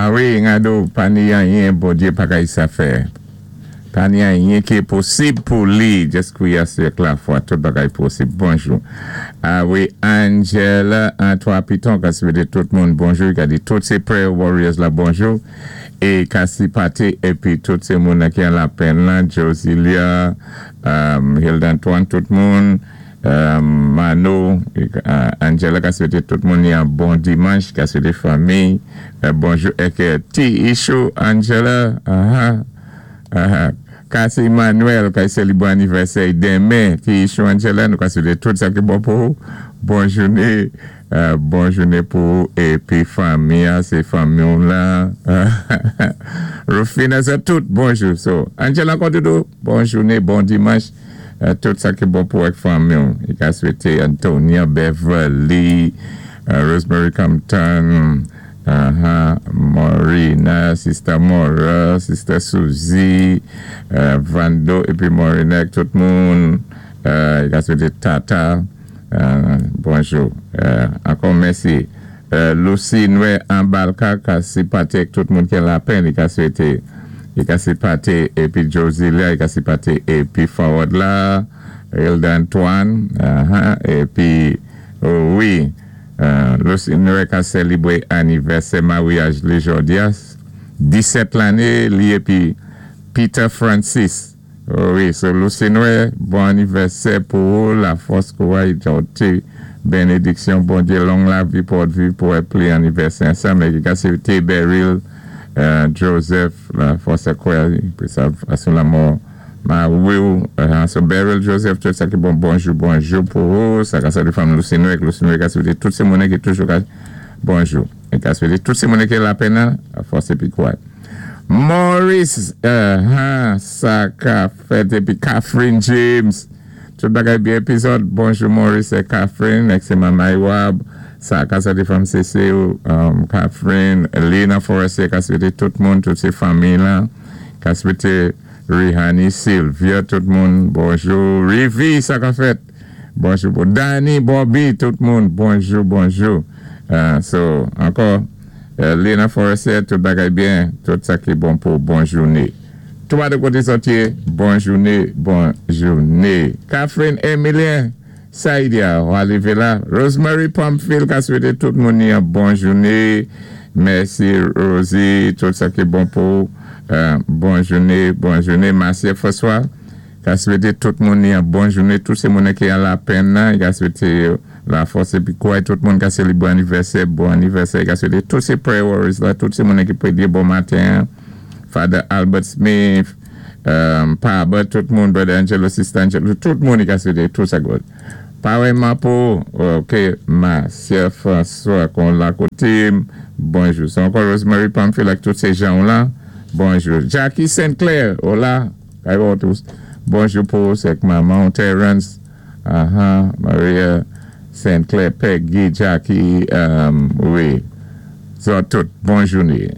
A wi, ngado, pa ni anyen Bondyé pa kay sa fè. Pa ni anyen ki enposib pou li. Just kwiyé avèk lafwa, tout bagay posib. Bonjou. A wi, Angela, Antoine Piton, ka swété tout moun bonjou. Ka di tout sé prayer warriors la bonjou. É Kasi Pate, épi tout sé moun ki an lapenn la, Josilia, Hilda Antoine, tout moun. Mano, Angela ka swété tout moun yon bon dimanch, ka swété fanmi, bonjou èk Ti Ishou, Angela, aha, aha. Kasi Emmanuel, ka sélibwé anivèsè denmen, Ti Ishou Angela, nou ka swété tout sa ki bon pou ou. Bon jouné, bon jouné pou ou, épi fanmi, sé fanmi la. Rufina, sé tout, bonjou. So, Angela ankò doudou, bon jouné, bon dimanch. Tout sa ki bon pou èk fanmi. Li ka swété Antonia Beverly, Rosemary Compton, Maurina, Sister Mora, Sister Suzy, Vando épi Maurina, tout moun. Li ka swété Tata. Bonjou. Ankò mèsi. Lucy Noé Ambalka ka sipate tout moun ki lapenn, li ka swété li ka sipate épi Josilia, li ka sipate épi forward la, Hilda Antoine, épi oh, wi, Lucy Noé ka sélibwé anivèsè maryaj li jòdi a, 17 lanné li épi Peter Francis. Oh, wi, so Lucy Noé, bon anivèsè pou ou, lafòs kouray, jòti, bénédiksyon, Bondyé, long lavi pou viv pou wè pli anivèsè ansanm, é ki ka swété Beryl, Joseph, lafòs kouray, pi sa, sou lanmò mari, so Beryl Joseph, tout sa ki bon, bonjou, bonjou pou ou, sa ka salye fanmi Lucy Noé, Lucy Noé ka swété tout sé moun ki toujou ka, bonjou, é ka swété tout sé moun ki lapenn, lafòs épi kouray. Maurice, sa ka fèt épi Catherine James. Tout bagay byen épizòd. Bonjou Maurice é Catherine, èk sé Mama Iwab. Sa ka swété fanmi Cécile, Catherine, Lena Forestier ka swété tout moun, tout sé fanmi la. Ka swété Rihani, Sylvia, tout moun. Bonjou. Rivi, sa ka fèt. Bonjou pou Danny, Bobby, tout moun. Bonjou, bonjou. So, ankò, Lena Forestier, tout bagay byen, tout sa ki bon pou bon jouné. Twa de koté sòti, bon jouné, bon jouné. Catherine Emilien, Saïdia, arivé la. Rosemary Pamphile, ka swété tout moun yon bon jouné. Mèsi Rosie, tout sa ki bon pou bon jouné, bon jouné. Marcia François, ka swété tout moun yon bon jouné. Tout sé moun ki an lapenn, ka swété lafòs épi kouray tout moun ka sélibwé anivèsè, bon anivèsè, ka swété tout sé prayer warriors la, tout sé moun ki pwédyé bon maten. Father Albert Smith, Paba, tout moun, Brother Angelo, Sister Angelo, tout moun ka swété tout sa good. Pareillement pou, ok, Marcia François kon la koté, bonjou. C'est ankò Rosemary Pamphile ak tout sé jan la, bonjou. Jackie Sinclair, hola, tous. Bonjou pou sé manman Terence, Maria Sinclair, Peggy, Jackie, wi. So, tout, bon jouné.